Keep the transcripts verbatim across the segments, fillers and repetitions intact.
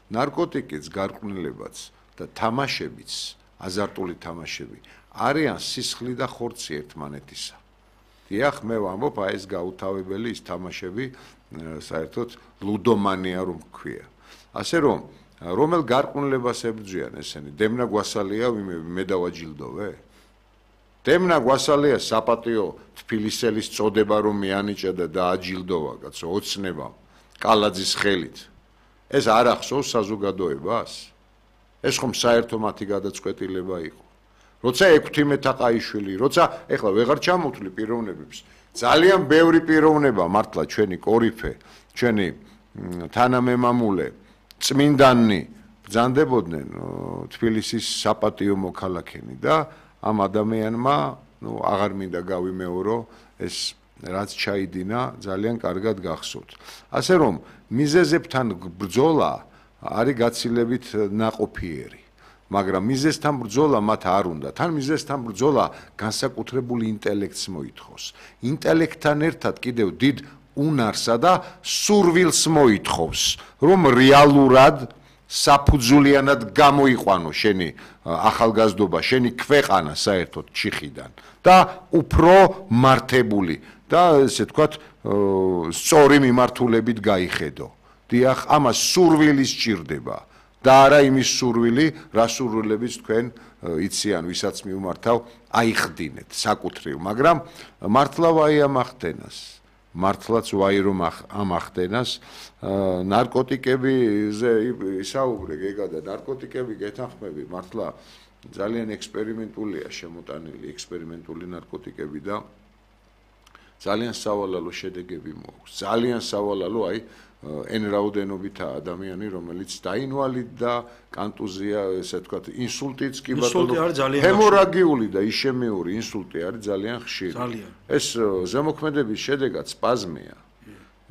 ნარკოტიკის გარყვნილებაც და თამაშებიც, აზარტული თამაშები არიან სისხლი და ხორცი ერთმანეთისა. დიახ, მე ვამბობ, აი ეს გაუთავებელი ის თამაშები საერთოდ ლუდომანია რომ ქვია. ასე რომ რომელ გარყვნილებას ებრძვიან ესენი? დემნა გვასალია ვიმე მე დავაჯილდოვე? დემნა გვასალია საპატიო თბილისელის წოდება რომ მეანიჭა და დააჯილდოვა კაცო ოცნება კალაძის ხელით. ეს არ ახსოვს საზოგადოებას? ეს ხომ საერთო მათი გადაწყვეტილება იყო. როცა ექვთიმე თაყაიშვილი, როცა ეხლა ვეღარ ჩამოვთვლი პიროვნებებს, ძალიან ბევრი პიროვნება მართლა ჩვენი კორიფე, ჩვენი თანამემამულე, წმინდანი ბრძანდებოდნენ თბილისის საპატიო მოქალაქენი და ამ ადამიანმა, ნუ აღარ მინდა გავიმეორო, ეს რაც ჩაიდინა, ძალიან კარგად გახსოვთ. ასე რომ მიზეზებთან ბრძოლა არის გაცილებით ნაყოფიერი. მაგრამ მიზეზთან ბრძოლა მათ არ უნდა. თან მიზეზთან ბრძოლა განსაკუთრებული ინტელექტს მოითხოვს. ინტელექტთან ერთად კიდევ დიდ უნარსა და სურვილს მოითხოვს, რომ რეალურად საფუძვლიანად გამოიყვანო შენი ახალგაზრდობა, შენი ქვეყანა საერთოდ ჩიხიდან და უფრო მართებული და ესე ვთქვათ, სწორი მიმართულებით გაიხედო. დიახ, ამას სურვილი სჭირდება. და არა იმის სურვილი, რა სურვილებიც თქვენ იციან, ვისაც მიუმართავ, აიხდინეთ საკუთრივ, მაგრამ მართლა ვაი ამახდენას, მართლაც ვაი რომ ამახდენას, ნარკოტიკებზე ისაუბრე გეგა და ნარკოტიკები გეთანხმები, მართლა ძალიან ექსპერიმენტულია შემოტანილი ექსპერიმენტული ნარკოტიკები და ძალიან სავალალო შედეგები მოაქვს, ძალიან სავალალო, აი εν რაოდენობითა ადამიანი, რომელიც დაინვალიდდა, კანტუზია, ესე ვთქვათ, ინსულტიც კი ბატონო, ჰემორაგიული და იშემიური ინსულტი არის ძალიან ხშირი. ეს ზემოქმედების შედეგად სპაზმია.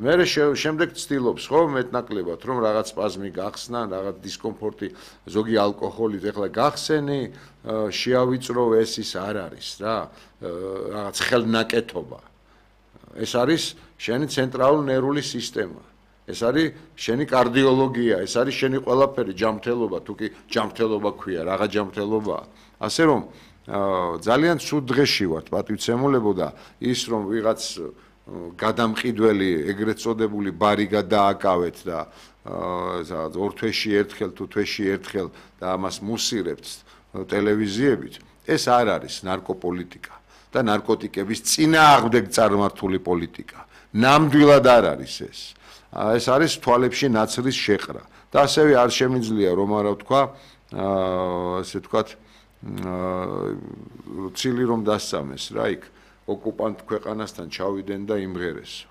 მე შემდეგ ცდილობს ხო მეტნაკლებად რომ რაღაც სპაზმი გახსნა, რაღაც დისკომფორტი, ზოგი ალკოჰოლით ეხლა გახსენი, შეავიწრო ეს ის არ არის რა, რაღაც ხელნაკეთობა. ეს არის შენი ცენტრალური ნერვული სისტემა. ეს არის შენი კარდიოლოგია, ეს არის შენი ყველაფერი, ჯანმრთელობა, თუ კი ჯანმრთელობა ქვია, რაღა ჯანმრთელობაა. ასე რომ ძალიან ცუდ დღეში ვართ, პატივცემულებო და ის რომ ვიღაც გადამყიდველი, ეგრეთ წოდებული ბარი გადააკავეთ და ორ თვეში ერთხელ თუ თვეში ერთხელ და ამას მუსირებთ ტელევიზიებით, ეს არ არის ნარკოპოლიტიკა და ნარკოტიკების წინააღმდეგ წარმართული პოლიტიკა. ნამდვილად არ არის ეს. ეს არის თვალებში ნაცრის შეყრა და ასევე არ შემიძლია რომ არა ვთქვა, ასე ვთქვათ, ცილი რომ დასწამეს რა იქ ოკუპანტ ქვეყანასთან ჩავიდნენ და იმღერესო.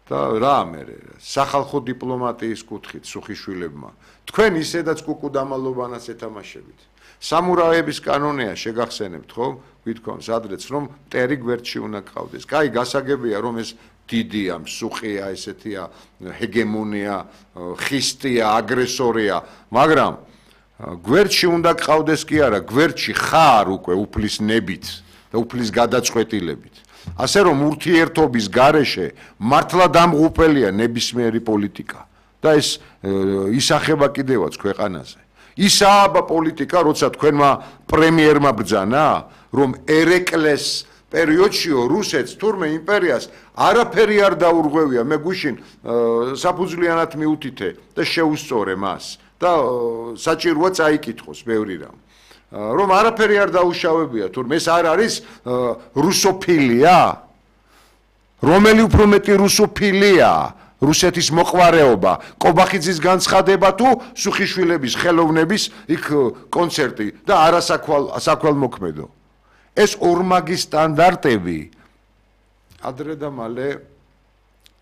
და რა მე სახალხო დიპლომატიის კუთხით სუხიშვილებმა თქვენ ისედაც კუკუდამალობანას ეთამაშებით. სამურაების კანონია შეგახსენებთ ხო? გვითქვამს ადრეც რომ მტერი გვერდში უნდა ყავდეს. კაი, გასაგებია რომ ეს დიდია, მსუხია, ესეთია, ჰეგემონია, ხისტია, აგრესორია, მაგრამ გვერდში უნდა ყავდეს კი არა, გვერდში ხარ უკვე უფლის ნებით და უფლის გადაწყვეტილებით. ასე რომ ურთიერთობის გარეშე მართლა დამღუპელია ნებისმიერი პოლიტიკა და ეს ისახება კიდევაც ქვეყანაზე. ისაა პოლიტიკა, როცა თქვენმა პრემიერმა ბრძანა, რომ ერეკლეს პერიოდშიო რუსეთს თურმე იმპერიას არაფერი არ დაურღვევია, მე გუშინ საფუძვლიანად მიუთითე და შეუსწორე მას და საჭიროა წაიკითხოს ბევრი რამ. რომ არაფერი არ დაუშავებია, თურმე ეს არ არის რუსოფილია? რომელი უფრო მეტი რუსოფილია? რუსეთის მოყვარეობა, კობახიძის განცხადება თუ სუხიშვილების ხელოვნების იქ კონცერტი და არასაქველმოქმედო. ეს ორმაგი სტანდარტები ადრე და მალე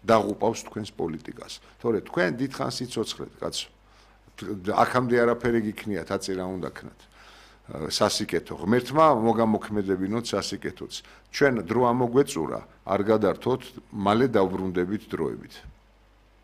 დაღუპავს თქვენს პოლიტიკას. თორე თქვენ დიდხანს იცოცხლეთ, კაცო. აქამდე არაფერი გიქნიათ, აწი რა უნდა ქნათ. სასიკეთო ღმერთმა მოგამოქმედებინოთ სასიკეთოც. ჩვენ დრო ამოგვეწურა, არ გადართოთ, მალე დავბრუნდებით დროებით.